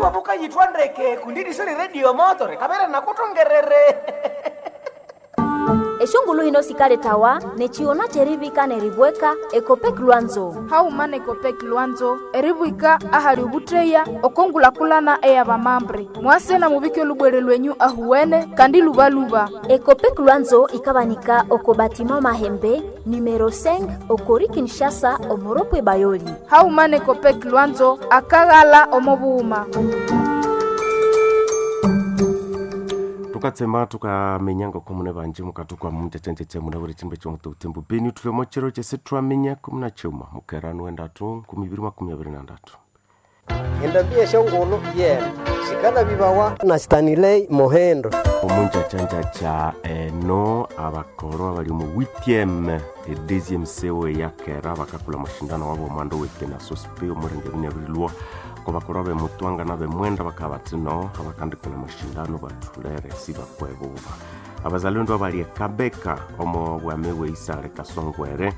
Iwabuka yitwa ndeke kundi siri radio moto rikabere nakutongerere. Eshongulu hino sikaletawa nechiona cherivika neribweka Ekopek Lwanzo. Hauma nekopek Lwanzo eribwika ahali ubutreya okongulakulana eyabamambre mwase na mubike olubwere lwenyu ahuwene kandi lubaluba. Ekopek Lwanzo ikabanika oko batima Mahembe numero 5 okori Kinshasa omoropwe Bayoli. Hauma nekopek Lwanzo akaghala omobuuma. Tukatsemba tukamenya ngoko mune banji mukatuka munjechenjeche mune buli chimbe chomutu butembo beni tulemo chiro chese twamenya 19 mukerano wendatu 2023. Endambia shongolo yena shikala bibawa na Stanley Mohendo. Omunjachanjacha eno abakoro abali mu 8e e 2e sewe yakera bakakula mashindano wabo omwando wete na sospe omurenge binyabirilwa ko bakoro bemutwanga nabemwenda bakaba batino abakandikula mashindano batulere sibakwebuba abazalendo abali ekabeka omo bwame bweisale kasongwere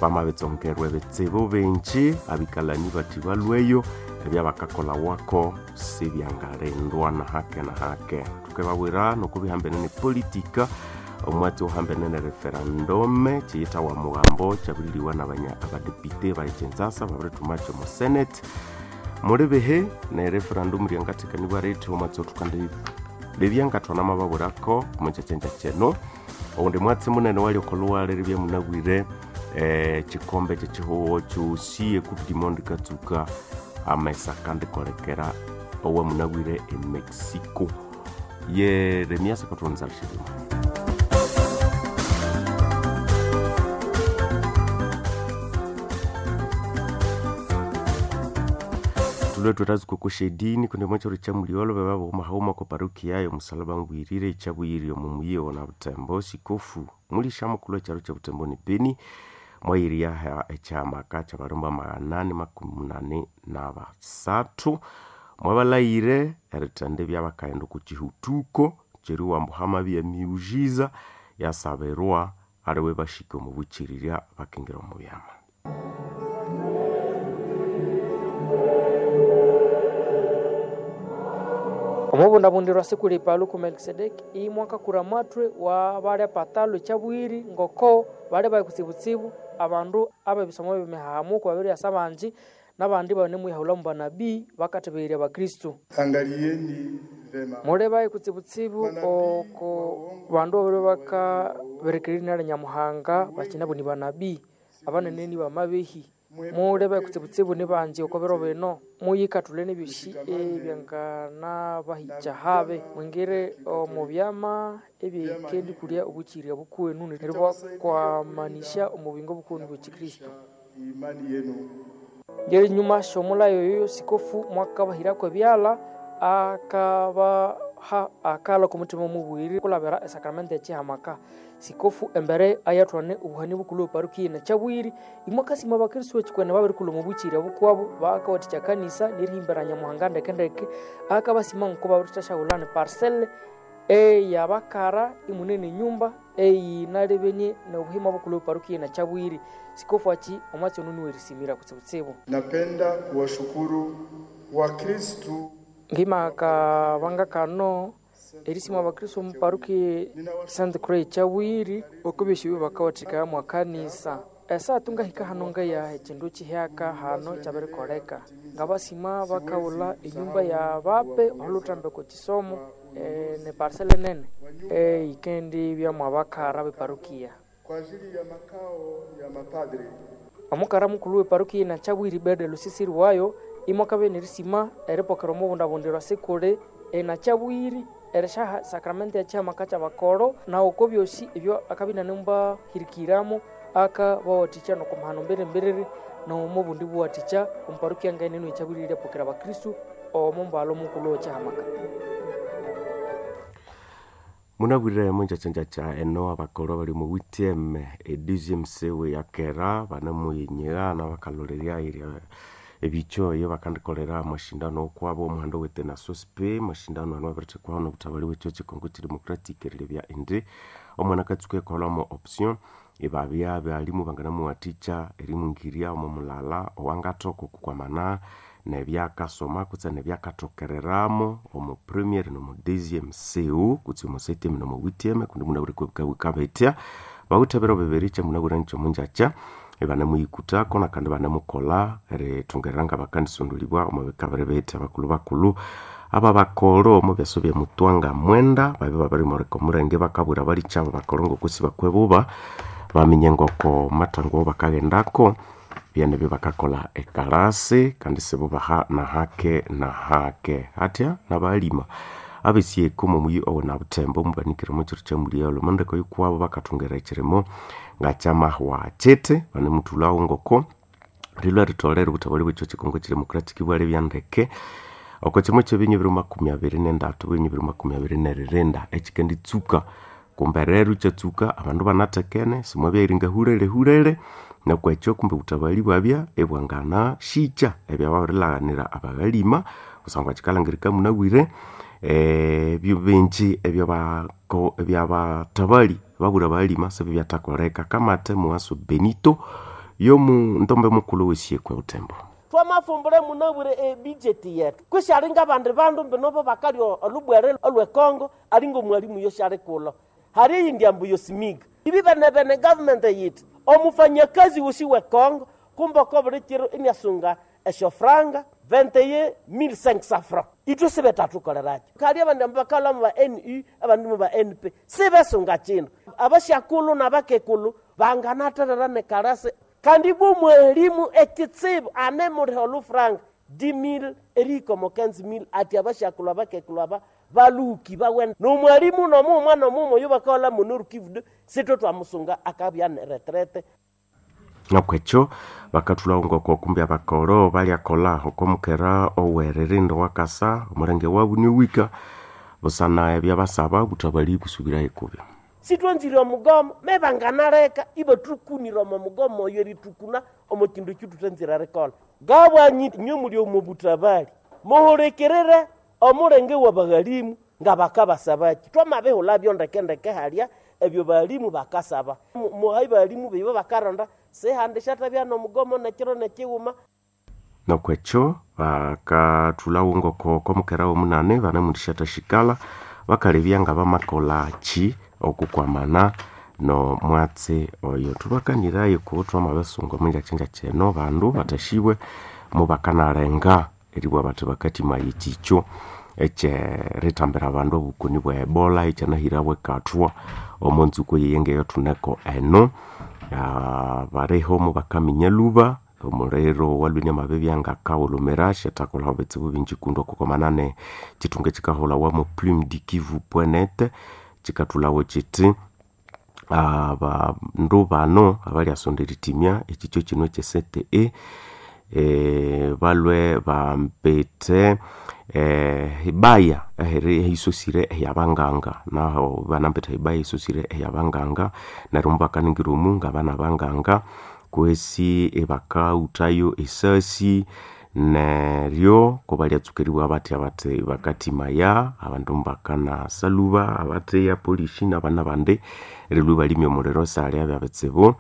bamabetsongerwe betsibo benji abikalani bati balweyo ebyabakakola wako sibyangalendwa na hake na hake. Tukebawira nokubihambene ne politika omwatsi ohambene ne referendum chiyitawa mugambo chabuliliwa nabanya abadepite balichentsasa babiritumacho mu senate mulibihe ne referendum ryangathekanibwa rithi omwatsi othukandi libyangathwana mababulako omukyakyenja kyeno oundi mwatsi munene wali okoluwale ribya munabwire chikombe kyekihuwo kyosi ecoupe du monde katsuka amesa kandikolekera owa munabwire emexico Yeremias akathonza lishilima. Tulwe twatazikokosha edini kundi mwachiro cha muliolo beba boma ko parokia yo musalaba ngwirire echabuyiri omu muyiwo na Butembo sikofu mulisha mukulu echaro cha Butembo ni Beni mwayiriya ekyamaka kyabalomba 883 mwabalayire erithende byabakaghenda oku kihutuko kyeriwa ambu hamabya emiujiza yasabirwa aliwe bashika omu bukirirya bakingira omu byama. Omubundabundirwa sikuli Paluku Melkisedeki imwaka kura matwe wa balya patalo chabwiri ngoko bali bakutsibutsibu abandu abebisomo byemihahamuko babiri asabanji nabandi bane mwihahula mu banabii bakatebeerya bakristu. Angalieni vema. Mule bayi kutsibutsibu oko bandu babiri bakaberekererya nali Nyamuhanga bakinabo ni banabii abanene ni bamabehi. Mule bayi kutsibutsibu ni banji oko biro bino muyikathule nebyosi ebyanganabahicha habe mwingire omu byama ebyikendi kulya obukyirya bukwenu neryo bwakwamanisha omu buyingo bukwenu bwekikristu. Imani yenu. Ngeri nyuma shomulayo yoyo sikofu mwakabahirako ebyala akabaha akala kumutima mubwiri kulabira esakramenti echihamaka sikofu embere ayathwane obuhani bukulhu parokia na chabwiri imwakasima abakristu echikwene babirikulha omu bukyiri obukwabo bakawathikya kanisa nerihimbira Nyamuhanga ndekendeke akabasima nko babirithasyaghulana parcel eyabakara imunene enyumba eyinalebenie nobuhima bukulhu parokia na chabwiri sikofu achi omwatsi ono niwerisimira kutsibutsibu. Napenda kuwashukuru Wakristu ngimaka kano erisima abakristu omu parokia Saint Croix chabwiri okubeshiwe bakawathikaya mwa kanisa esatu ngahika hano ngaya ekindu kihyaka hano kyabirikoleka ngabasima bakaghulha enyumba ya bape olhuthambeko kisomo ne parcel nene eyikendi byamwa bakara beparokia kwa ajili ya makao ya mapadri. Omukara mukulhu weparokia na chabwiri Bede Lusisiri wayo imwakabya nerisima eripokera omubundabundirwa sikuli ena chabwiri erishaha sakramenti echihamaka kyabakoro na oko byosi ebyo akabya inanimubahirikiramo akabawathikya nokumahano mbirimbiriri nomubundi buwathikya omuparokia ngaeneno ekyabwiri eryapokera abakristu omo mbalho mukulhu wechihamaka. Munabwire munjachanjacha eno abakoro abali mu 8e e 2e sewe yakera banamuyinyira nabakalolerya erya ebicho iyo bakandikolera amashindano okwabo omuhando wete na sospe mashindano ano abirithekwaho nobuthabali bwekyo Congo Democratic erilebya indi omwana akatsuka ekolamo option ibabya balimu banganamuwathikya erimwingirya omo mulala owangathoka okukwamana nebyakasoma kutse nebyakathokereramo omu premier nomu deuxième seu kutse omu septième nomu huitième kundi munabwire kwebikabitya bawithe ebiro bibiri kyamunabwire nikyomunjakya ibanemuyikutako nakandi banemukolha erithungerera ngabakandisondolibwa omu bikabiri bithi abakulhu bakulhu aba bakolo omu byaso bya mutwanga mwenda babya babirimuleka omulenge bakabwira balikyabo bakolo ngokusi bakwebuba baminye ngoko mathango bakaghendako byanebyo bakakolha ekalasi kandi sibubaha nahake nahake hatya nabalima abesieko momuyi owuna buthembo mubanikire mukiro kyamulyalo omundeko yokuwabo bakathungera ekirimo ngakyamahwa kiti banemuthulhawo ngoko rilwa ritholere obuthabali bwekyo kikongo kidemocratic bwalebya ndeke oko kimwe kyebinyu 2023 bwinyu 2024 ekikenditsuka kumbe rero kyatsuka abandu banathekene simwabyayiringa hulele hulele nokwekyo kumbe obutabali bwabya ibwangana shikya ebyababirilaghanira abaghalima kusangwa kikalhangirika munabwire ebyo bingi ebyabatabali babwira abalima sibibyathakoleka kamate muwaso Benito yomundombe mukulhu wesiekwe Butembo. Twamafumbule munabwire ebijeti yetu kushalinga abandi bandu mbinobo bakalya olubwere olwekongo alinga omwalimu yoshali kulo hari eyindi ambu yosimiga ibi bene bene government yithi omufanyakazi wosi wekongo kumbe oko buli kiro iniasunga eshofranga 21500 francs itwe sibetathukolerakyo kali abandi ambu bakalha mu ba nu abandi mu ba np sibesunga kindu abashakulhu nabakekulu banganatherera nekalasi kandi bwo mwalimu ekitsibu anemuliha olufranga 10000 erihika omo 15000 ati abashakulhu abakekulu aba baluki bawene nomwalimu nomumwa nomumwa oyo bakaholha munorukivude sitwe twamusunga akabya neretrete. Nokwekyo bakathulhawo ngoko kumbi abakoro balyakolha okwamukera oweririnda owakasa omulenge wabu niwika busana ebyabasaba obuthabali busubirayo kubyo. Sitwanzire omugomo mebanganaleka ibathukunire omo mugomo oyo erithukuna omo kindu ekyo thuthanzire erikolha ngabwanyi inywe muli omo butabali muhulikirire omulenge wabaghalimu ngabakabasabaki twamabihulhabyo ndekendeke halya ebyo balimu bakasaba muhai balimu bibo bakaronda sihandi shathabya nomugomo nekiro nekighuma. Nokwekyo bakathulhawo ngoko komukera womunane banemundisyathashikala bakalebya ngabamakolha ki okukwamana nomwatsi oyo. Thubakanirayo ku twamabisunga omunjakyanjakya eno bandu bathashibwe mubakanalenga eribugha bathi bakathimaya ekyikyo ekyerithambira abandu obukoni bwa Ebola ekyanahirawo ekathwa omo ntsuku eyiyi thuneko eno. Baliho mubakaminya lhuba omuliro walhwe inamabibya ngakawulhumira syathakolha ebitsibu bingi kundi okukwamana nekyithunga ekyikahulhawa mo plume du kivu.net kyikathulhawo kyithi abandu bano abalyasonda erithimya ekyikyo kino ekye CTE balhwe bambite hibaya ehisosire ehyabanganga naho banambithe hibaya ehisosire ehyabanganga neryo mubakaningirya omu ngabana banganga kwesi ibakawuthayo esasi neryo kubalyatsuka eribugha bathya bathi bakathimaya abandu mubakana lhuba abatheya polishi nabana bandi erilhwa ibalimya omuliro sihalyabya bitsibu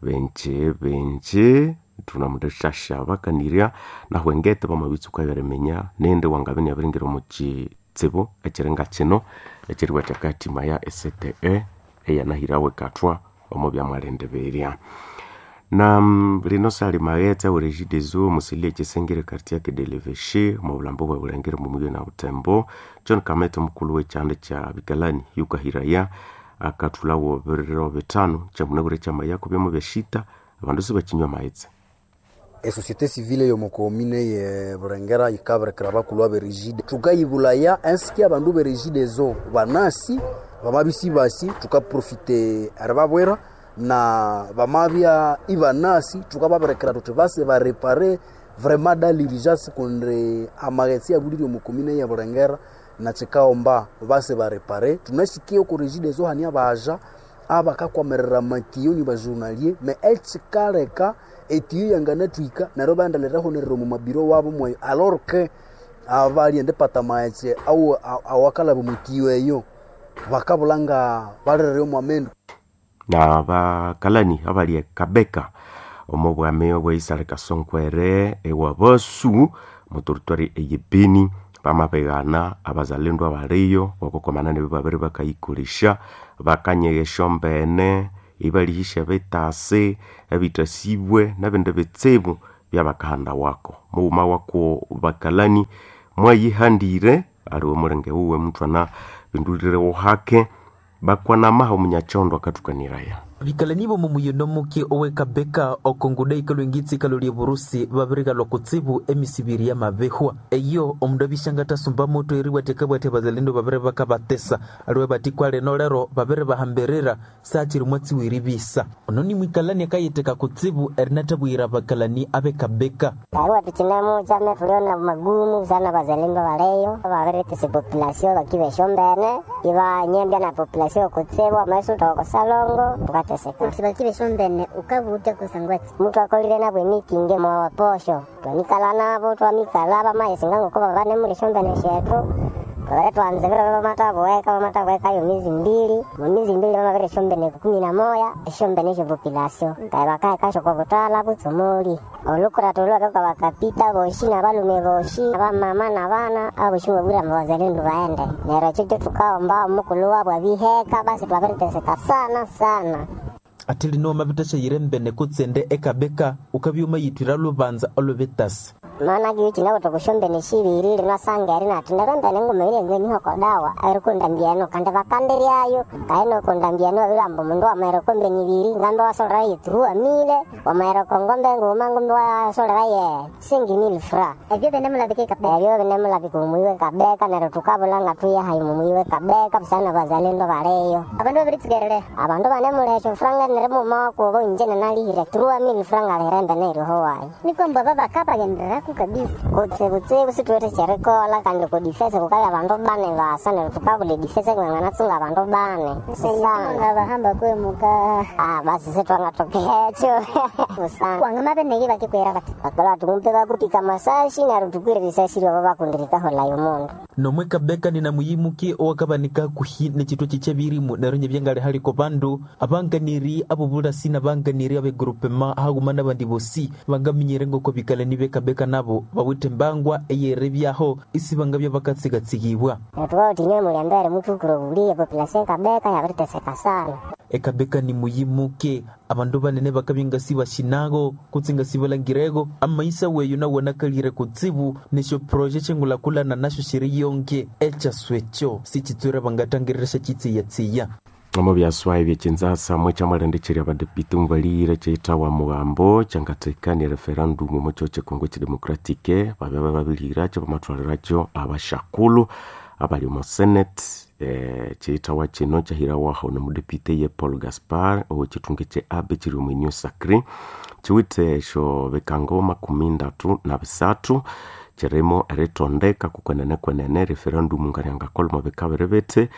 bingi bingi thunamuthasya bakanirya nahu engete bamabitsuka byeriminya nindi wangabya iniabiringira omu kitsibu ekiringa kino ekyeribugha athi akathimaya e CTE eyanahirawo ekathwa omo byamwalindibirirya. Na lino sali maghetse awe Regideso musili ekisengere quartier ke deleveshe omu bulhambo bwe Bulengere omu muyi na Butembo John Kamete omukulhu w'ekyanda kya Bikalani yukahiraya akathulhawo ebiro bithanu kyamunabwire kyamayaku byomu byashita abandu sibakinywa amaghetse. Esociété civile yomukomine ye Burengera yikabirekera abakulhu abe Regide thukayibulaya ensiki abandu be Regideso banasi bamabya basi thukaprofite eribabwira na bamabya ibanasi thukababirekera thuthi base barepare vraiment dans l'urgence kundi amaghetse abulire omu komine ye Burengera nakikaghomba base barepare. Thunasikiye oko Regideso hane abaja abakakwamirira amatiyo ni bajournalier me ekikaleka etiyo yanganathwika neryo ibaghenda omu mabiro wabo mweyo alors que abalyenda ipata amaghetse awakalaba omwitiyo eyo bakabulha nga balirire omwamendu. Na bakalani abali e Kabeka omo bwami obwe Isale Kasonkwere ewa Basu mu territoire eye Beni bamabigana abazalendo abaliyo ngokokwamana nebyo babiri bakayikolesya bakanyegha esyombene ibalihisya ebitasi ebitasibwe nebindi bitsibu byabakahanda wako mughuma wako bakalani mwayihandire aliwe mulenge wuwe muthwana bindulire hake bakwanamaha omunyakyondo akathukaniraya. Bikalani bomu muyino muke owekabeka okonguda ikalwa engitsi ikalwa lya burusi babirikalwa kutsibu emisibiri yamabihwa eyo omundu abishanga athasumba moto eribwatheka bwathi abazalendo babiri bakabatesa aliwe batikwa lino lero babiri bahambirira saakiri mwatsiwa eribisa ono ni mwikalani akayitheka kutsibu erinathabwira abakalani abekabeka. Barua tuchinamo chama tuliona magumu sana bazalendo baleyo babiritisa population bakibesha ombene ibanyembya na population kutsibu amaiso tokosalongo tukateseka Uti bakibesha ombene ukabuta kusangwati mtu akolire nabo emitingi mwawaposho twamikala nabo twamikala bamayisinga ngoko babane mulisha ombene shetu twabere twanzibira bamatabuweka bamatabuwekayo mizi mbili mumizi mbili bamabire shombene 11 eshombene esho population kae bakaekasho kwa butala butsumuli olukura tulwake kwa bakapita boshi na balume boshi abamama na bana aboshi babwira mabazalendo baende neryo ekyo tukaomba omukulu wabo abiheka basi twabiriteseka sana sana. Ate lino wamabithasyaghira embene kutsende ekabeka ukabya wamayithwira lubanza olwebitasi. Maana kiuchi nabo tukushombene shibiri linasanga eri nati nero mbene nguma ile ngwe dawa erikundambia eno kandi bakandiryayo kaino kundambia eno bilambo mundu wamaere kombeni ibiri ngambe wasolera ye 3000 wamaere kongombe nguma ngumbe wasolera ye 5000 fra ebyo binemulabika kabeka ebyo binemulabika mumuiwe kabeka nero tukabulanga tuya hayi mumuiwe kabeka busana bazalendo baleyo abandu babiritsikerere abandu banemulesho franga nerimuma wakubo inje nanalihire 3000 franga alihire mbene iriho wayi nikwamba babakabagendereraku kabisa kutsibutsibu situwete kyerikola kandi kudifese kukali abandu bane basa neryo tukabula edifese ng'anatsunga abandu bane sana bahamba kwemuka ah basi sitwangatokekyo sana wangamabeneki bakikwera bati bakola tumpe bakupika masashi neryo tukwire risasi lyobo bakundirikaholayo mundu nomwe kabeka ninamuyimuke owakabanika hakuhi nechitwa chikyebirimu neryo nyebyangali haliko bandu abanganiri abobulasi nabanganiri abegrupema haghuma nabandi bosi bangaminyire ngoko bikalani bekabeka nabo bawithe embangwa eyerebyaho isi bangabya bakatsigatsigibwa. Tukautinywe mulyambere mutukure obuliye population kabeka yabiriteseka sana. Ekabeka ni muyimuke abandu banene bakabya ngasi bashinago kutsi ngasi balangirego amaisa weyo nawanakalire kutsibu nesyo proje chengulakulana nasyo shiri yonke ekyaswekyo sichitswere bangatangirira syachitsiyatsiya. Omo byaswa ebyekinzasa mwe kyamalendekyerya abadepite mubalire kyeyithawa mugambo kyangathekania referendum omo kyo kyekongo kyedemocratic babya bababilirakyo bamathwalirakyo abashakulhu abali omo senate kyeyithawa kino kyahirawaho nomudepite ye Paul Gaspar owekyithunga kye Abe kyiri omu Union Sacré kiwithe esyo bikango 33 kirimo eritondeka kukwenene kwenene referendum ngaryangakolha omo bika biri bithi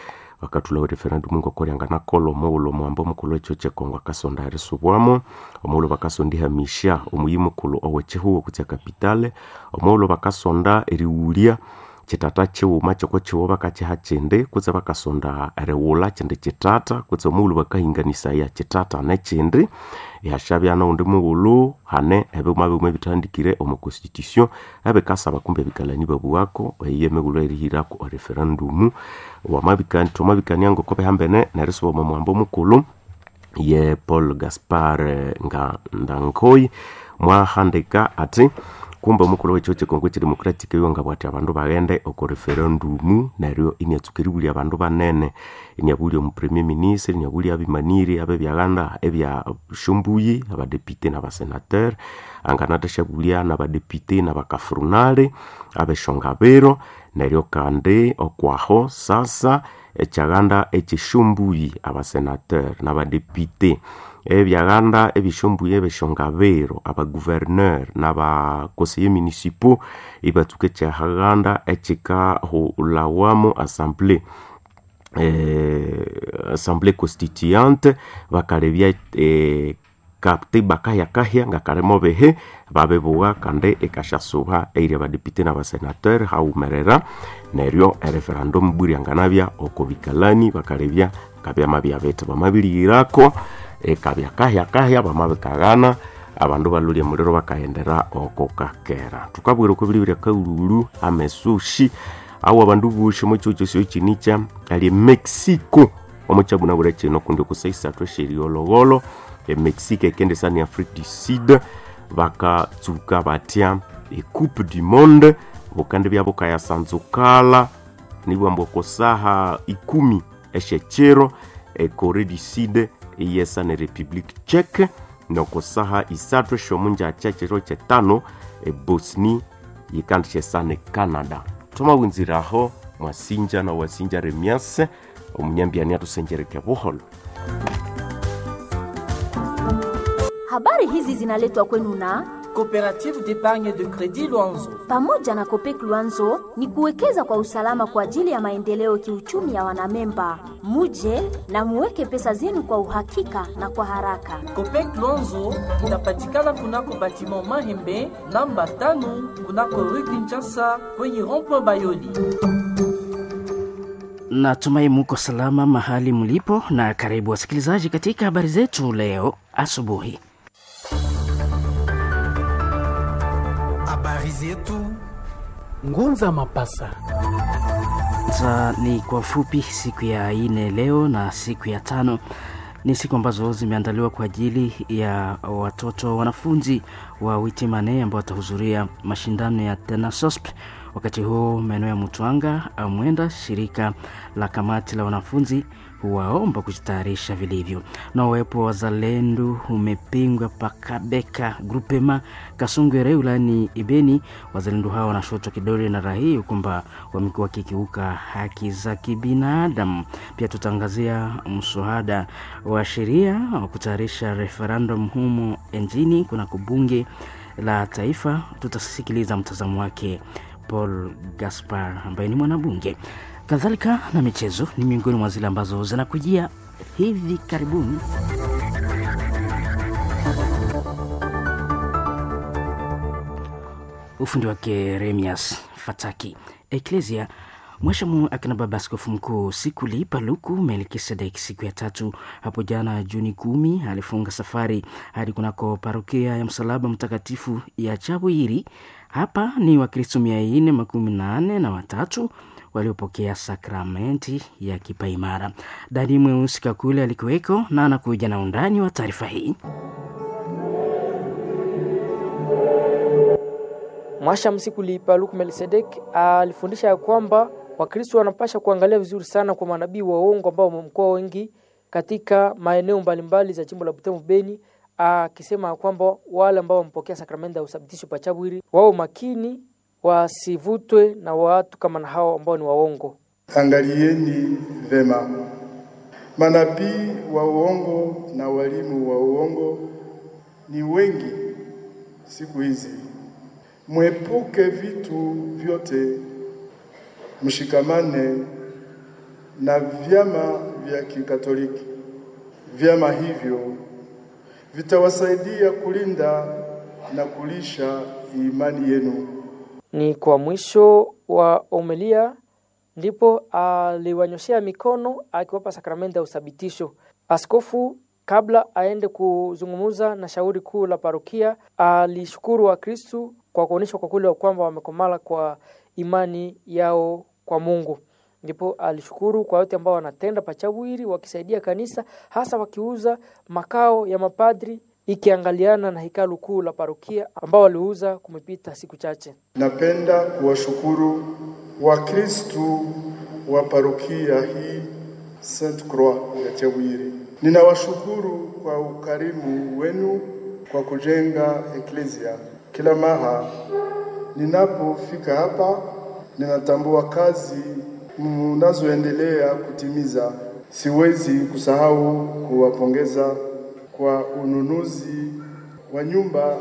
bakathulhawo referendum ngokoryanganakolha omughulhu omuhambo omukulhu ekyo kyekongo akasonda erisubwamo omughulhu bakasonda ihamisya omuyi mukulhu owekyihugho kutse ekapitale omughulhu bakasonda erighulya kitata kighuma kyoko kighuma bakakiha kindi kutse bakasonda erighulha kindi kitata kutse omughulhu bakahinganisaya kitata nekindi ihasyabya noghundi mughulhu hane ebighuma bighuma ebithandikire omo constitution ebikasaba kumbe ebikalani babughako eyo emighulhu erihirako ereferendum thwamabikania ngoko bihambene nerisuba omo muhambo mukulhu ye Paul Gaspar nga Ndankoyi mwahandika ati kumbe omukulhu wekyo kyekongo kyedemocratic oyo ngabwati abandu baghende oko referendum neryo iniatsuka eribulya abandu banene iniabulya omu premier ministre iniabulya abimaniri abebyaganda ebya shumbuyi abadepite nabasenateur anganathashabulya nabadepite nabakafrunale abeshongabiro neryo kandi okwaho sasa ekyaganda ekyeshumbuyi abasenateur nabadepite ebyaganda ebishumbuyi ebeshongabiro abagouverneur nabakonseye municipaux ibatsuka ekyahaganda ekyikahulhawamu assemblée assemblée constituante bakalebya katiba kahyakahya ngakalimo bihi babibugha kandi ikasyasuba eyiri abadepite nabasenateur haghumerera neryo ereferendum bwiryanganabya oko bikalani bakalebya ngabyamabya bithi bamabilighirako ikabya kahyakahya bamabikaghana. Abandu balolya muliro bakahendera oko kakera. Tukabwira oko bilibya kaululu amesushi awo abandu boshi omo kyihugho kyosi kinicha ali Mexico omo kyabunabura kino kundi okusaisathu esyeriolhogholo eMexico ekendesa ni Afrique du Sud bakatsuka batya ecoupe du monde bukandi bya bukayasanzukala nibwamba okosaha 10 esyekyiro eCorée du Sud iyesa ne Republique Tchèque nokosaha isathu esyomunjakya ekyiro kyetano eBosnie yikandisyesa ne Canada. Thwamawunziraho mwasinja na wasinja Remiase omunyambiani atusenjereke buholo. Habari hizi zinaletwa kwenu na Coopérative d'épargne de crédit Luanzo. Pamoja na Copec Luanzo ni kuwekeza kwa usalama kwa ajili ya maendeleo kiuchumi ya wanamemba. Muje na muweke pesa zenu kwa uhakika na kwa haraka. Copec Luanzo inapatikana kunako batiment Mahembe namba 5 kunako rue Kinshasa kwenye rond-point Bayoli. Natumai muko salama mahali mlipo, na karibu wasikilizaji katika habari zetu leo asubuhi. Habari zetu Ngunza Mapasa. Sasa ni kwa fupi, siku ya ine leo na siku ya tano ni siku ambazo zimeandaliwa kwa ajili ya watoto wanafunzi wa Witimane ambao watahudhuria mashindano ya Tenasosp. Wakati huo maeneo ya Mutwanga Amwenda, shirika la kamati la wanafunzi huwaomba kujitayarisha vilivyo. Na uwepo wa wazalendo umepingwa pakabeka grupema Kasongwere wilayani Ibeni. Wazalendo hao wanashotwa kidole na raia kwamba wamekuwa wakikiuka haki za kibinadamu. Pia tutaangazia mswada wa sheria wa kutayarisha referendum humo nchini kunako bunge la taifa. Tutasikiliza mtazamo wake Paul Gaspar ambaye ni mwanabunge. Kadhalika na michezo ni miongoni mwa zile ambazo zinakujia hivi karibuni. Ufundi wake Remias Fataki. Eklesia Mwashamu akina baba askofu mkuu Sikuli Paluku Melkisedek siku ya tatu hapo jana Juni 10 alifunga safari hadi kunako parokia ya Msalaba Mtakatifu ya Chabwiri. Hapa ni Wakristo 483 waliopokea sakramenti ya kipaimara. Dani Mweusi Kakule alikuweko na anakuja na undani wa taarifa hii. Mwashamu Sikuli Paluku Melkisedek alifundisha ya kwamba Wakristo wanapasha kuangalia vizuri sana kwa manabii wa uongo ambao wamekuwa wengi katika maeneo mbalimbali za jimbo la Butembo Beni, akisema kwamba wale ambao wamepokea sakramenti ya uthabitisho pachabwiri wao makini wasivutwe na watu kama na hao ambao ni waongo. Angalieni vema manabii wa uongo na walimu wa uongo ni wengi siku hizi. Mwepuke vitu vyote, mshikamane na vyama vya Kikatoliki. Vyama hivyo vitawasaidia kulinda na kulisha imani yenu. Ni kwa mwisho wa omelia ndipo aliwanyoshea mikono akiwapa sakramenti ya uthabitisho. Askofu kabla aende kuzungumza na shauri kuu la parokia, alishukuru Wakristu kwa kuonyesha kwa kweli kwamba wamekomala kwa imani yao kwa Mungu. Ndipo alishukuru kwa yote ambao wanatenda pachabwiri wakisaidia kanisa, hasa wakiuza makao ya mapadri ikiangaliana na hekalu kuu la parokia ambao waliuza kumepita siku chache. Napenda kuwashukuru Wakristu wa parokia hii Sainte Croix ya Chabwiri. Ninawashukuru kwa ukarimu wenu kwa kujenga eklesia. Kila mara ninapofika hapa, ninatambua kazi mnazoendelea kutimiza. Siwezi kusahau kuwapongeza kwa ununuzi wa nyumba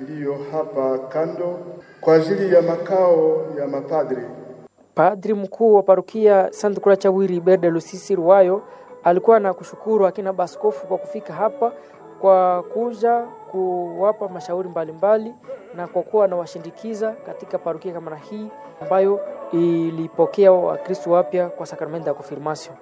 iliyo hapa kando kwa ajili ya makao ya mapadri. Padri mkuu wa parokia Sainte Croix Chawiri Berde Lusisi Ruwayo alikuwa na kushukuru akina baskofu kwa kufika hapa kwa kuja kuwapa mashauri mbalimbali na kwa kuwa anawashindikiza katika parokia kama na hii ambayo ilipokea Wakristo wapya kwa sakramenti ya konfirmasio.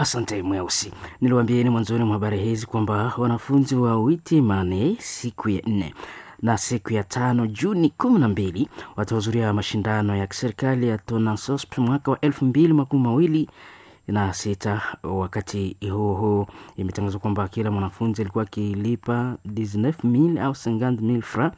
Asante Mweusi. Niliwaambieni mwanzoni mwa habari hizi kwamba wanafunzi wa Witimane siku ya nne na siku ya 5 Juni 12 watahudhuria mashindano ya kiserikali ya Tonasosp mwaka wa 2026. Wakati huo huo, imetangazwa kwamba kila mwanafunzi alikuwa akilipa 19000 au 50000 francs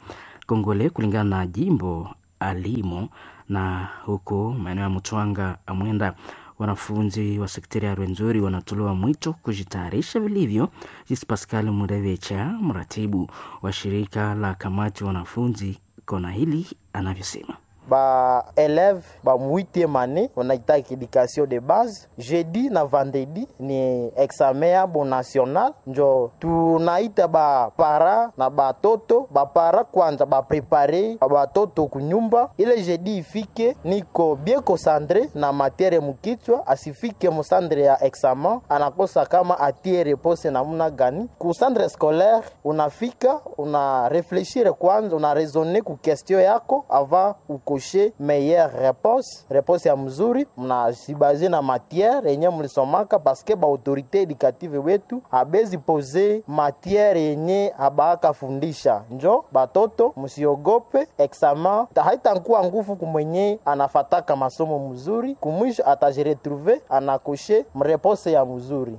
Kongole kulingana na jimbo alimo, na huko maeneo ya Mutwanga Amwenda wanafunzi wa sekteri ya Rwenzori wanatolewa mwito kujitayarisha vilivyo. Jisi Pascal Murevecha, mratibu wa shirika la kamati wanafunzi kona hili, anavyosema. Ba élève ba 8e année wanaitaka éducation de base jeudi na vendredi ni examen yabo national, njo tunaita ba para na batoto bapara kwanza baprepare batoto kunyumba ile jeudi ifike niko bien concentré na matiere mukichwa, asifike musandre ya examen anakosa kama atie repose namuna gani. Ku centre scolaire unafika una reflechir kwanza, una raisonner ku question yako avant uko meilleure réponse, réponse ya mzuri, mnajibaze na matière yenye mlisomaka, paske ba autorité éducative wetu abezi pose matière yenye abaaka fundisha. Njo batoto msiogope examen, haitakuwa nguvu kumwenye anafataka masomo mzuri, kumwisho atajiretrouve anakoshe mreponse ya mzuri.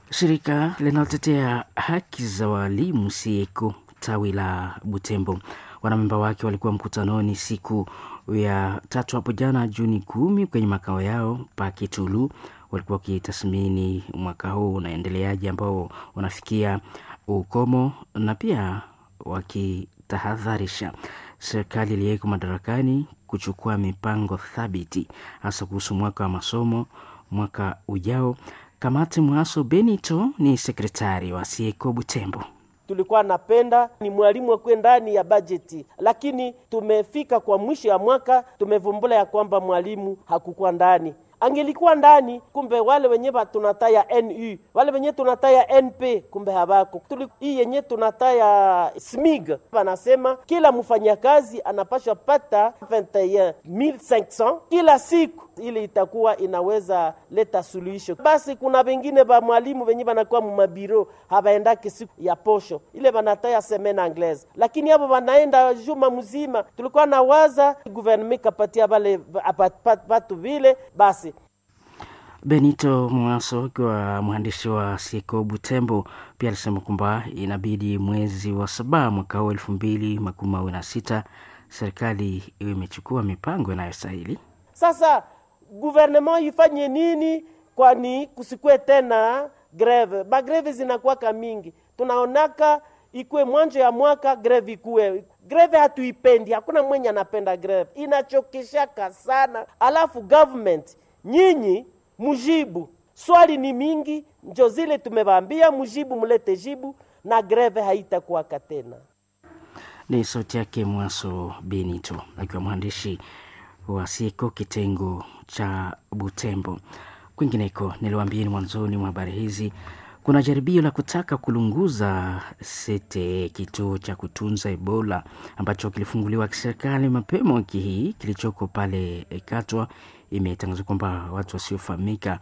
Shirika linalotetea haki za walimu Sieko tawi la Butembo wanamemba wake walikuwa mkutanoni siku ya tatu hapo jana Juni 10 kwenye makao yao pa Kitulu. Walikuwa wakitathmini mwaka huu unaendeleaje ambao unafikia ukomo na pia wakitahadharisha serikali iliyeko madarakani kuchukua mipango thabiti hasa kuhusu mwaka wa masomo mwaka ujao. Kamati Mwaso Benito ni sekretari wa Sieko Butembo. Tulikuwa napenda ni mwalimu akuwe ndani ya bajeti, lakini tumefika kwa mwisho ya mwaka tumevumbula ya kwamba mwalimu hakukuwa ndani. Angelikuwa ndani, kumbe wale wenye tunataya NU, wale wenye tunataya NP, kumbe habako. Hii yenye tunataya SMIG, wanasema kila mfanyakazi anapashwa pata 21500 kila siku, ili itakuwa inaweza leta suluhisho. Basi kuna wengine ba mwalimu wenye banakuwa mumabiro habaendake siku ya posho ile banataya semaine anglaise, lakini hapo banaenda juma mzima. Tulikuwa na waza gouvernement kapatia bale batu vile basi. Benito Mwaso akiwa mwandishi wa Siko Butembo pia alisema kwamba inabidi mwezi wa 7 mwaka huu 2026 serikali iwe imechukua mipango inayostahili. Sasa gouvernement ifanye nini? Kwani kusikue tena greve. Bagreve zinakuwaka mingi, tunaonaka ikuwe mwanzo ya mwaka greve ikuwe greve, hatuipendi, hakuna mwenye anapenda greve, inachokeshaka sana. Alafu government nyinyi mujibu swali ni mingi, njo zile tumewaambia mujibu, mulete jibu na greve haitakuwaka tena. Ni sauti yake Mwaso Benito akiwa mwandishi wa Siko kitengo cha Butembo. Kwingineko, niliwaambieni mwanzoni mwa habari hizi, kuna jaribio la kutaka kulunguza sete kituo cha kutunza Ebola ambacho kilifunguliwa kiserikali mapema wiki hii kilichoko pale Katwa. Imetangazwa kwamba watu wasiofahamika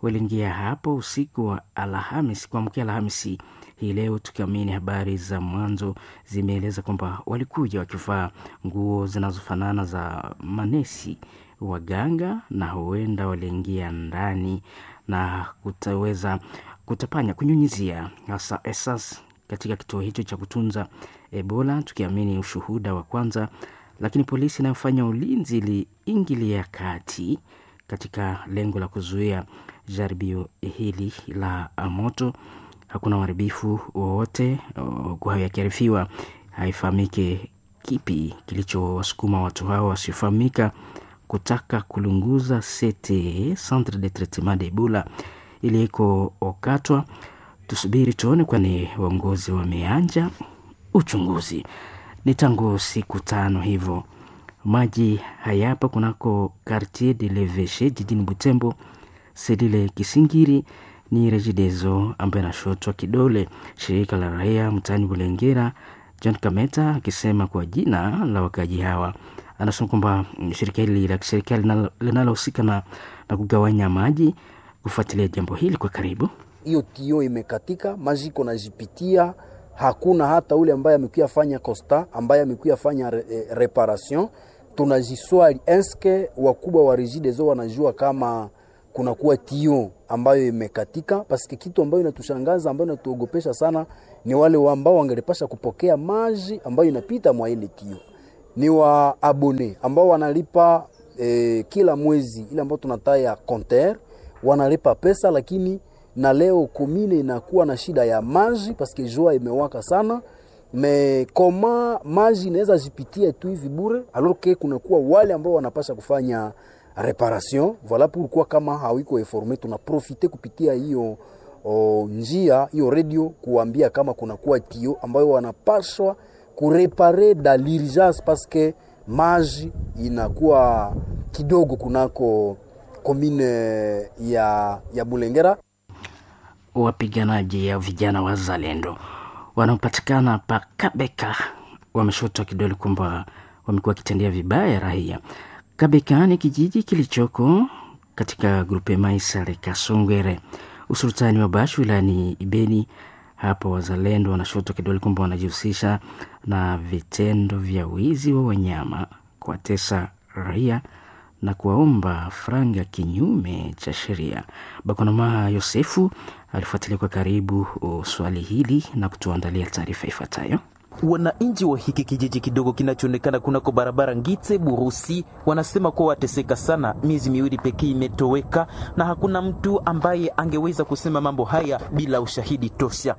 waliingia hapo usiku wa Alhamisi kuamkia Alhamisi hii leo, tukiamini habari za mwanzo zimeeleza kwamba walikuja wakivaa nguo zinazofanana za manesi waganga, na huenda waliingia ndani na kutaweza kutapanya kunyunyizia hasa esas katika kituo hicho cha kutunza Ebola, tukiamini ushuhuda wa kwanza. Lakini polisi inayofanya ulinzi iliingilia kati katika lengo la kuzuia jaribio hili la moto. Hakuna uharibifu wowote, huku hayo yakiarifiwa, haifahamike kipi kilichowasukuma watu hao wasiofahamika kutaka kulunguza CTE, Centre de Traitement de Ebola iliko Okatwa. Tusubiri tuone, kwani waongozi wameanja uchunguzi. Ni tangu siku 5 hivyo maji hayapa kunako Quartier de l'Eveche jijini Butembo. Selile Kisingiri ni Regideso ambaye anashotwa kidole shirika la raia mtaani Bulengera, John Kameta akisema kwa jina la wakaji hawa. Anasema kwamba shirika hili la kiserikali linalohusika na kugawanya maji kufuatilia jambo hili kwa karibu. Hiyo tio imekatika, maji iko najipitia, hakuna hata ule ambaye amekuya fanya costa, ambaye amekuya fanya reparation. Tunajiswali, eske wakubwa wa Regideso wanajua kama kunakuwa tio ambayo imekatika? Paske kitu ambayo inatushangaza ambayo inatuogopesha sana ni wale ambao wangelipasha kupokea maji ambayo inapita mwa ile tio, ni wa abone ambao wanalipa kila mwezi ile ambayo tunataya compteur, wanalipa pesa, lakini na leo komine inakuwa na shida ya maji paske jua imewaka sana me koma maji inaweza jipitia tu hivi bure, alors que kunakuwa wale ambao wanapasha kufanya reparation. Voilà pourquoi kama hawiko informe, tunaprofite kupitia hiyo njia hiyo radio kuambia kama kunakuwa tio ambayo wanapashwa kurepare da l'urgence parce que maji inakuwa kidogo kunako komine ya Bulengera. Wapiganaji ya vijana wazalendo wanaopatikana pa Kabeka wameshotwa kidole kwamba wamekuwa wakitendea vibaya raia. Kabeka ni kijiji kilichoko katika grupe Maisale Kasongwere, usultani wa Bashu wilayani Ibeni. Hapo wazalendo wanashotwa kidole kwamba wanajihusisha na vitendo vya wizi wa wanyama, kuwatesa raia na kuwaomba franga kinyume cha sheria. Bakonoma Yosefu alifuatilia kwa karibu swali hili na kutuandalia taarifa ifuatayo. Wananchi wa hiki kijiji kidogo kinachoonekana kunako barabara Ngitse Burusi wanasema kuwa wateseka sana. Miezi miwili pekee imetoweka na hakuna mtu ambaye angeweza kusema mambo haya bila ushahidi tosha.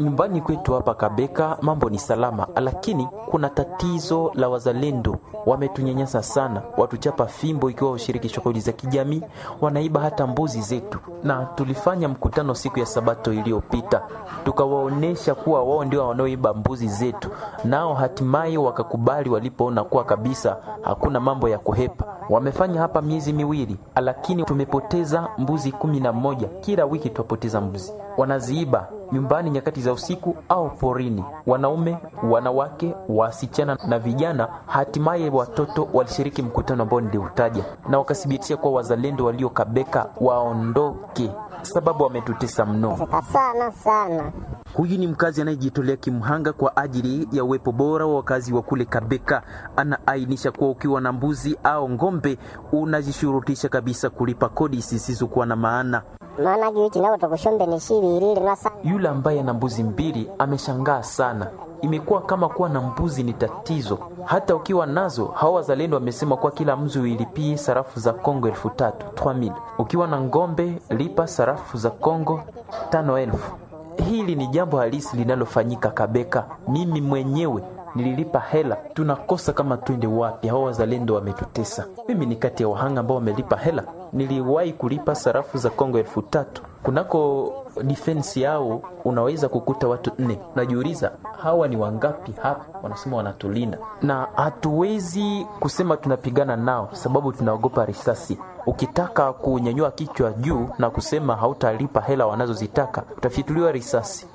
Nyumbani kwetu hapa Kabeka mambo ni salama, lakini kuna tatizo la wazalendo. Wametunyanyasa sana, watuchapa fimbo ikiwa ushiriki shughuli za kijamii, wanaiba hata mbuzi zetu, na tulifanya mkutano siku ya Sabato iliyopita tukawaonyesha kuwa wao ndio wanaoiba mbuzi zetu, nao hatimaye wakakubali walipoona kuwa kabisa hakuna mambo ya kuhepa. Wamefanya hapa miezi miwili, lakini tumepoteza mbuzi 11. Kila wiki twapoteza mbuzi, wanaziiba nyumbani nyakati za usiku au porini, wanaume, wanawake, wasichana na vijana. Hatimaye watoto walishiriki mkutano ambao niliutaja na wakathibitisha kuwa wazalendo waliokabeka waondoke, sababu wametutesa mno sana sana. Huyu ni mkazi anayejitolea kimhanga kwa ajili ya uwepo bora wa wakazi wa kule Kabeka. Anaainisha kuwa ukiwa na mbuzi au ng'ombe unajishurutisha kabisa kulipa kodi zisizokuwa na maana. Yule ambaye ana mbuzi mbili ameshangaa sana. Imekuwa kama kuwa na mbuzi ni tatizo, hata ukiwa nazo. Hawa wazalendo wamesema kuwa kila mzu uilipie sarafu za Kongo 3000 3000. Ukiwa na ng'ombe lipa sarafu za Kongo 5000. Hili ni jambo halisi linalofanyika Kabeka. Mimi mwenyewe nililipa hela. Tunakosa kama twende wapi? Hawa wazalendo wametutesa. Mimi ni kati ya wahanga ambao wamelipa hela. Niliwahi kulipa sarafu za Kongo 3000 kunako defense yao, unaweza kukuta watu 4. Najiuliza hawa ni wangapi hapa? Wanasema wanatulinda, na hatuwezi kusema tunapigana nao sababu tunaogopa risasi. Ukitaka kunyanyua kichwa juu na kusema hautalipa hela wanazozitaka utafyatuliwa risasi.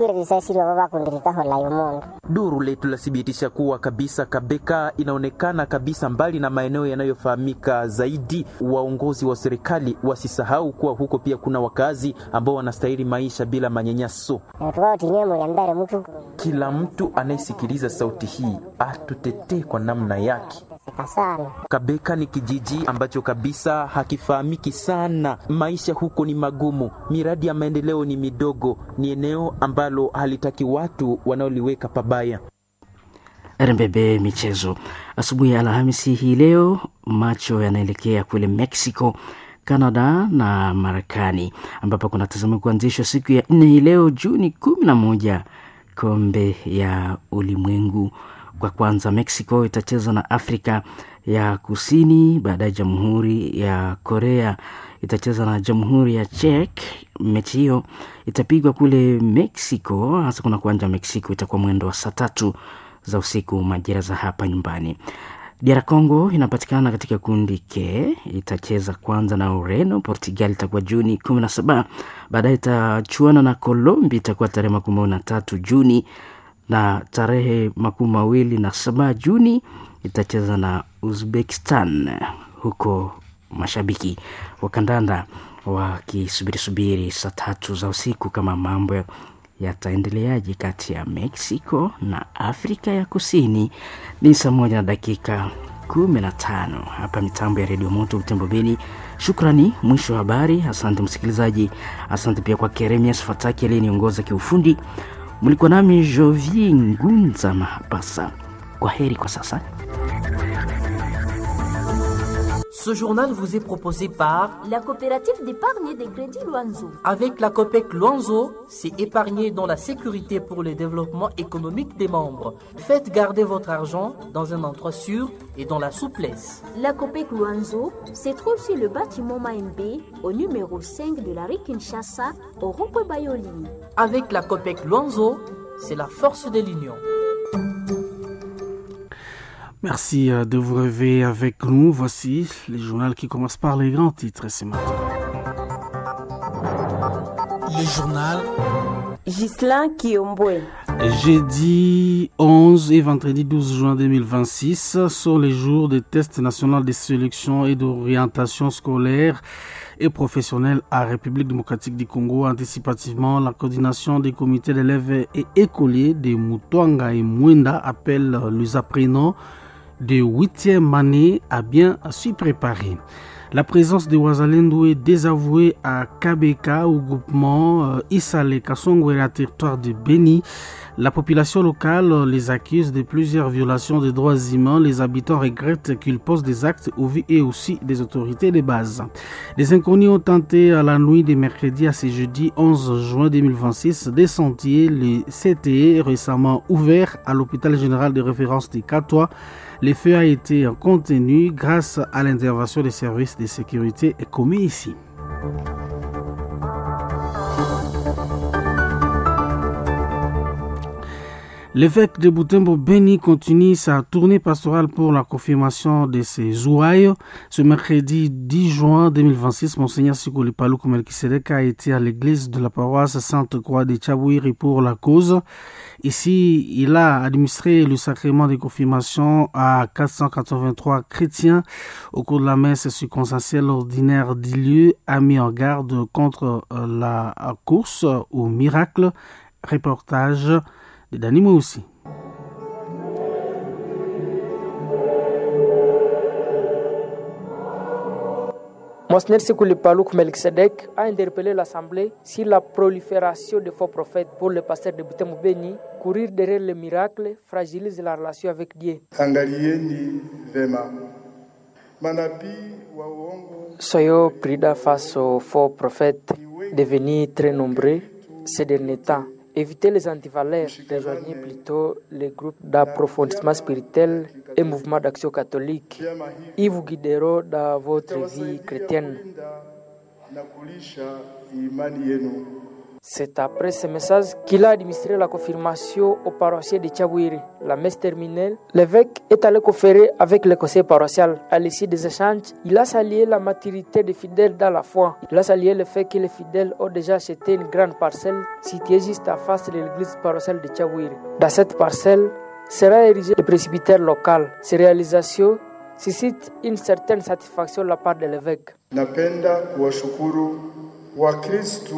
Duru letu lathibitisha kuwa kabisa Kabeka inaonekana kabisa mbali na maeneo yanayofahamika zaidi. Waongozi wa serikali wasisahau kuwa huko pia kuna wakazi ambao wanastahili maisha bila manyanyaso. Kila mtu anayesikiliza sauti hii atutetee kwa namna yake. Kabeka ni kijiji ambacho kabisa hakifahamiki sana. Maisha huko ni magumu, miradi ya maendeleo ni midogo, ni eneo ambalo halitaki watu wanaoliweka pabaya. RMBB Michezo asubuhi ya Alhamisi hii leo, macho yanaelekea kule Mexico, Canada na Marekani ambapo kunatazamiwa kuanzishwa siku ya nne hii leo Juni 11 kombe ya ulimwengu. Kwa kwanza Mexico itacheza na Afrika ya Kusini, baadaye Jamhuri ya Korea itacheza na Jamhuri ya Czech. Mechi hiyo itapigwa kule Mexico, hasa kuna kuanja Mexico, itakuwa mwendo wa saa 3 za usiku majira za hapa nyumbani. DR Congo inapatikana katika kundi K, itacheza kwanza na Ureno. Portugal itakuwa Juni 17, baadaye itachuana na Colombia, itakuwa tarehe 23 Juni na tarehe 27 Juni itacheza na Uzbekistan huko Mashabiki wa kandanda wakisubiri subiri saa 3 za usiku kama mambo yataendeleaje kati ya Mexico na Afrika ya Kusini. Ni saa 1:15 hapa mitambo ya Redio Moto Butembo Beni. Shukrani, mwisho wa habari. Asante msikilizaji, asante pia kwa Keremias Fataki aliyeniongoza kiufundi. Mlikuwa nami Jovi Ngunza Mapasa. Kwa heri kwa sasa. Ce journal vous est proposé par la coopérative d'épargne et de crédit Luanzo. Avec la COPEC Luanzo, c'est épargner dans la sécurité pour le développement économique des membres. Faites garder votre argent dans un endroit sûr et dans la souplesse. La COPEC Luanzo se trouve sur le bâtiment Maembe, au numéro 5 de la rue Kinshasa, au rond-point Bayoli. Avec la COPEC Luanzo, c'est la force de l'union. Merci de vous réveiller avec nous. Voici le journal qui commence par les grands titres ce matin. Le journal Ghislain Kiombwe. Jeudi 11 et vendredi 12 juin 2026 sont les jours des tests nationaux de sélection et d'orientation scolaire et professionnelle à République démocratique du Congo. Anticipativement, la coordination des comités d'élèves et écoliers de Mutwanga et Mwenda appelle les apprenants de 8e année à bien s'y préparer. La présence de Wazalendo est désavouée à KBK au groupement Isale Kasongwera, territoire de Beni. La population locale les accuse de plusieurs violations des droits humains. Les habitants regrettent qu'ils posent des actes au vu et aussi des autorités de base. Les inconnus ont tenté à la nuit de mercredi à ce jeudi 11 juin 2026 des sentiers, les CTE récemment ouverts à l'hôpital général de référence de Katoa. Le feu a été contenu grâce à l'intervention des services de sécurité commis ici. L'évêque de Butembo Beni continue sa tournée pastorale pour la confirmation de ses ouailles. Ce mercredi 10 juin 2026, Monseigneur Sikuli Paluku Melkisedek a été à l'église de la paroisse Sainte-Croix de Tchabouiri pour la cause. Ici, il a administré le sacrement de confirmation à 483 chrétiens. Au cours de la messe circonstancielle ordinaire du lieu, a mis en garde contre la course au miracle. Reportage de Dani aussi. Monseigneur Sikuli Paluku Melkisedek a interpellé l'Assemblée sur la prolifération de faux prophètes pour le pasteur de Butembo Beni. Courir derrière le miracle fragilise la relation avec Dieu. Angalieni vema manabii wa uongo. Soyons prudents face aux faux prophètes devenus très nombreux ces derniers temps. Évitez les antivaleurs, rejoignez plutôt les groupes d'approfondissement spirituel et mouvements d'action catholique. Ils vous guideront dans votre vie chrétienne. Na kulisha imani yenu. C'est après ce message qu'il a administré la confirmation au paroissien de Tchabouiri. La messe terminée, l'évêque est allé conférer avec le conseil paroissial. À l'issue des échanges, il a salué la maturité des fidèles dans la foi. Il a salué le fait que les fidèles ont déjà acheté une grande parcelle située juste à face de l'église paroissiale de Tchabouiri. Dans cette parcelle sera érigé le presbytère local. Ces réalisations suscitent une certaine satisfaction de la part de l'évêque. Napenda kuwashukuru Wakristu.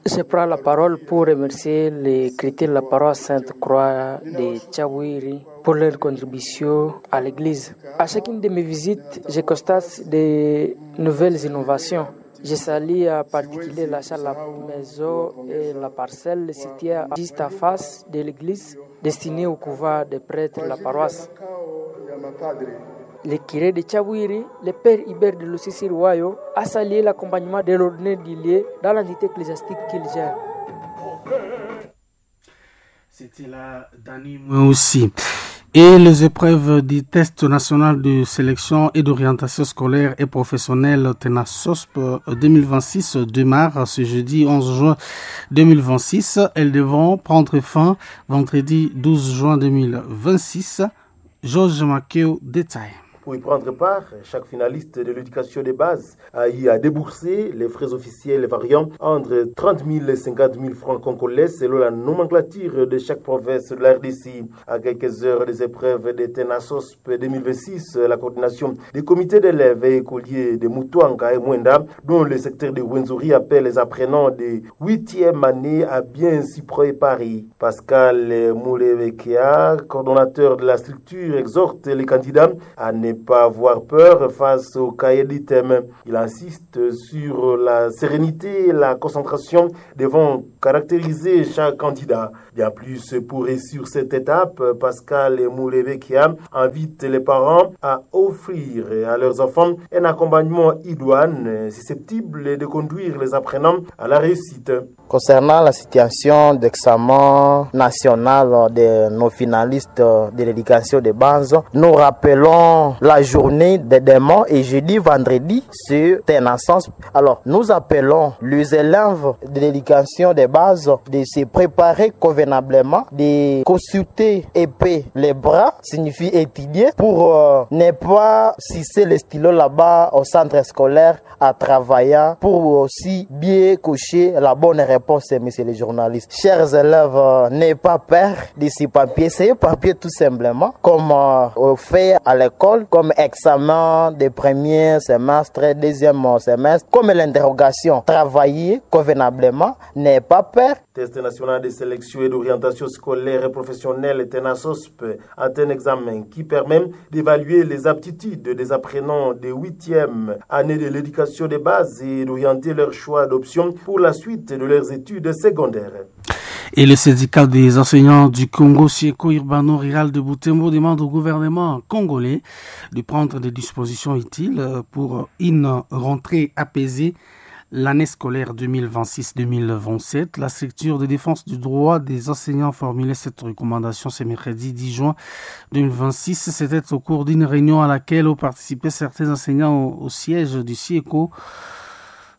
Je prends la parole pour remercier les chrétiens de la paroisse Sainte-Croix de Tchawiri pour leur contribution à l'église. À chacune de mes visites, je constate de nouvelles innovations. Je salue en particulier l'achat de la maison et la parcelle située juste à face de l'église destinée au couvent des prêtres de la paroisse. Le curé de Tchabouiri, le père Hubert de Lucie Wayo, a salué l'accompagnement de l'ordinaire du lieu dans l'entité ecclésiastique qu'il gère. C'était la Dani aussi. Et les épreuves du test national de sélection et d'orientation scolaire et professionnelle TENASOSP 2026 démarrent ce jeudi 11 juin 2026. Elles devront prendre fin vendredi 12 juin 2026. Georges Makeo détaille. Pour y prendre part, chaque finaliste de l'éducation de base a eu à débourser les frais officiels variant entre 30 000 et 50 000 francs congolais selon la nomenclature de chaque province de la RDC. À quelques heures des épreuves de Tenasosp 2026, la coordination des comités d'élèves et écoliers de Mutwanga et Mwenda, dont le secteur de Rwenzori appelle les apprenants de 8e année à bien s'y préparer. Pascal Moulevekia, coordonnateur de la structure, exhorte les candidats à ne pas avoir peur face au cahier d'items. Il insiste sur la sérénité et la concentration devant caractériser chaque candidat. Bien plus, pour réussir cette étape, Pascal Moulevekia invite les parents à offrir à leurs enfants un accompagnement idoine susceptible de conduire les apprenants à la réussite. Concernant la situation d'examen national de nos finalistes de l'éducation de base, nous rappelons la journée de demain et jeudi, vendredi, sur sens. Alors, nous appelons les élèves de l'éducation de base de se préparer convenablement, de consulter épais les bras, signifie étudier, pour ne pas cesser le stylo là-bas au centre scolaire à travailler, pour aussi bien cocher la bonne réponse, messieurs les journalistes. Chers élèves, n'ayez pas peur de ces papiers. C'est un papier tout simplement, comme on fait à l'école, comme examen de premier semestre, deuxième semestre, comme l'interrogation. Travailler convenablement, n'ayez pas peur. Test national de sélection et d'orientation scolaire et professionnelle TENASOSP est un examen qui permet d'évaluer les aptitudes des apprenants de 8e année de l'éducation de base et d'orienter leur choix d'option pour la suite de leurs études secondaires. Et le syndicat des enseignants du Congo, SIECO Urbano Rural de Butembo, demande au gouvernement congolais de prendre des dispositions utiles pour une rentrée apaisée l'année scolaire 2026-2027. La structure de défense du droit des enseignants formulait cette recommandation ce mercredi 10 juin 2026. C'était au cours d'une réunion à laquelle ont participé certains enseignants au siège du SIECO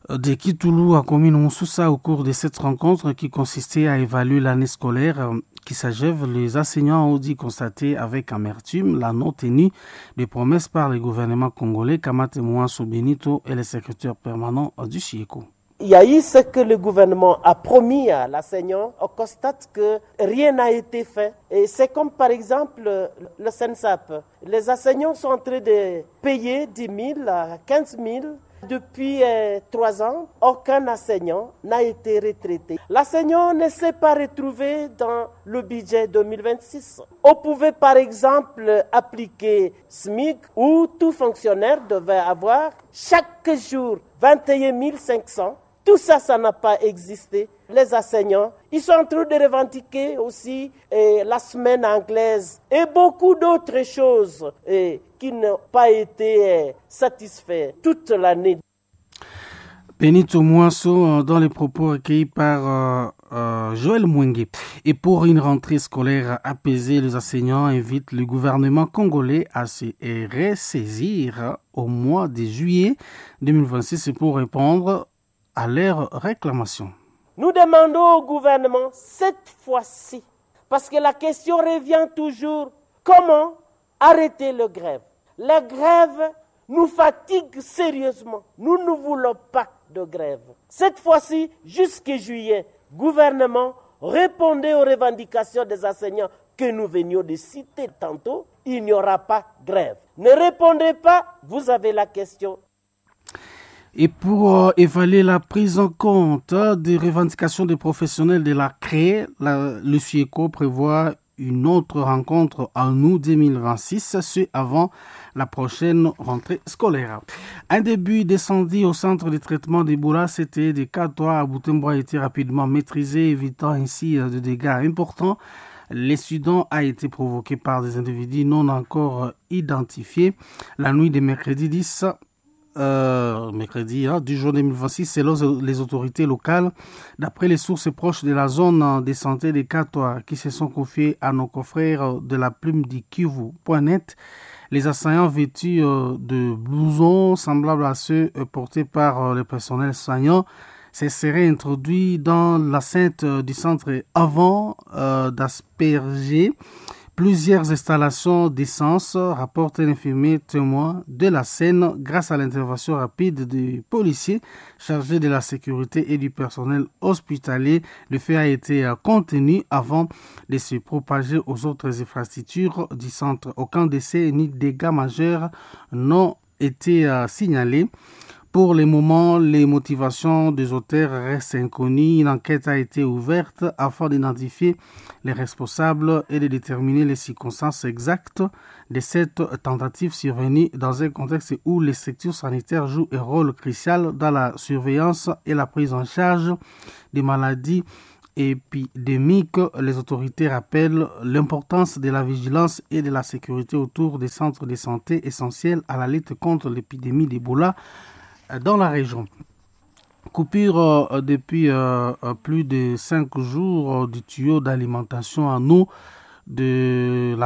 de Kitoulou à commune Moussoussa. Au cours de cette rencontre qui consistait à évaluer l'année scolaire qui s'achève, les enseignants ont dit constater avec amertume la non-tenue des promesses par le gouvernement congolais. Kamate Mouansou Benito est le secrétaire permanent du SIECO. Il y a eu ce que le gouvernement a promis à l'enseignant. On constate que rien n'a été fait. Et c'est comme par exemple le SENSAP. Les enseignants sont en train de payer 10 000 à 15 000. Depuis 3 ans, aucun enseignant n'a été retraité. L'enseignant ne s'est pas retrouvé dans le budget 2026. On pouvait par exemple appliquer SMIC où tout fonctionnaire devait avoir chaque jour 21 500. Tout ça, ça n'a pas existé. Les enseignants, ils sont en train de revendiquer aussi la semaine anglaise et beaucoup d'autres choses qui n'ont pas été satisfaites toute l'année. Benito Mouasso, dans les propos recueillis par Joël Mwenge. Et pour une rentrée scolaire apaisée, les enseignants invitent le gouvernement congolais à se ressaisir au mois de juillet 2026 pour répondre à leurs réclamations. Nous demandons au gouvernement cette fois-ci, parce que la question revient toujours, comment arrêter le grève? La grève nous fatigue sérieusement. Nous ne voulons pas de grève. Cette fois-ci, jusqu'à juillet, gouvernement, répondez aux revendications des enseignants que nous venions de citer tantôt. Il n'y aura pas grève. Ne répondez pas, vous avez la question. Et pour évaluer la prise en compte des revendications des professionnels de la CRE, le SIECO prévoit une autre rencontre en août 2026, ce avant la prochaine rentrée scolaire. Un début d'incendie au centre de traitement d'Ebola, c'était de 4 à Butembo, a été rapidement maîtrisé, évitant ainsi des dégâts importants. L'incident a été provoqué par des individus non encore identifiés. La nuit de mercredi 10 mercredi du jour 2026, selon les autorités locales, d'après les sources proches de la zone de santé des Katoa qui se sont confiées à nos confrères de la plume du Kivu.net, les assaillants vêtus de blousons semblables à ceux portés par le personnel soignant se seraient introduits dans l'enceinte du centre avant d'asperger Plusieurs installations d'essence, rapporte un infirmier témoin de la scène grâce à l'intervention rapide du policier chargé de la sécurité et du personnel hospitalier. Le fait a été contenu avant de se propager aux autres infrastructures du centre. Aucun décès ni dégâts majeurs n'ont été signalés. Pour le moment, les motivations des auteurs restent inconnues. Une enquête a été ouverte afin d'identifier les responsables et de déterminer les circonstances exactes de cette tentative survenue dans un contexte où les structures sanitaires jouent un rôle crucial dans la surveillance et la prise en charge des maladies épidémiques. Les autorités rappellent l'importance de la vigilance et de la sécurité autour des centres de santé essentiels à la lutte contre l'épidémie d'Ebola dans la région. Coupure depuis plus de 5 jours du tuyau d'alimentation en eau de la